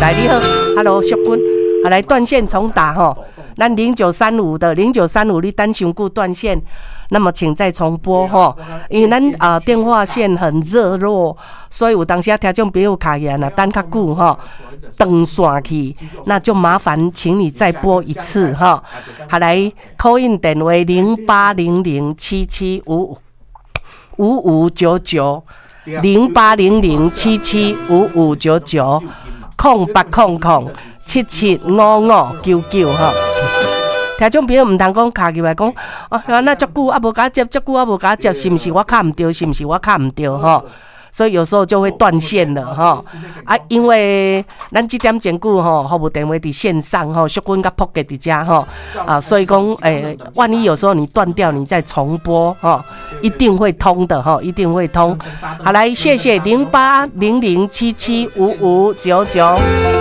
來，你好，Hello，淑君，好，來斷線重打吼，咱零九三五的零九三五，你等傷久斷線，那麼請再重撥吼，因為咱啊電話線很熱絡，所以有當時聽眾朋友敲來若等較久吼，斷線去，那就麻煩請你再撥一次哈。好，來，call in 電話0800775559，0800775599，0800775599吼。聽眾朋友毋通講敲入來講，啊，那足久啊無共我接，足久啊無共我接，是毋是我敲毋著？是毋是我敲毋著？吼？所以有時候就會斷線了吼。啊，因為咱這點鐘久吼，服務電話佇線上吼，淑君佮撲克佇遮吼，啊，所以講，萬一有時候你斷掉，你再重撥吼，一定會通的吼，一定會通。好，來，謝謝0800775599。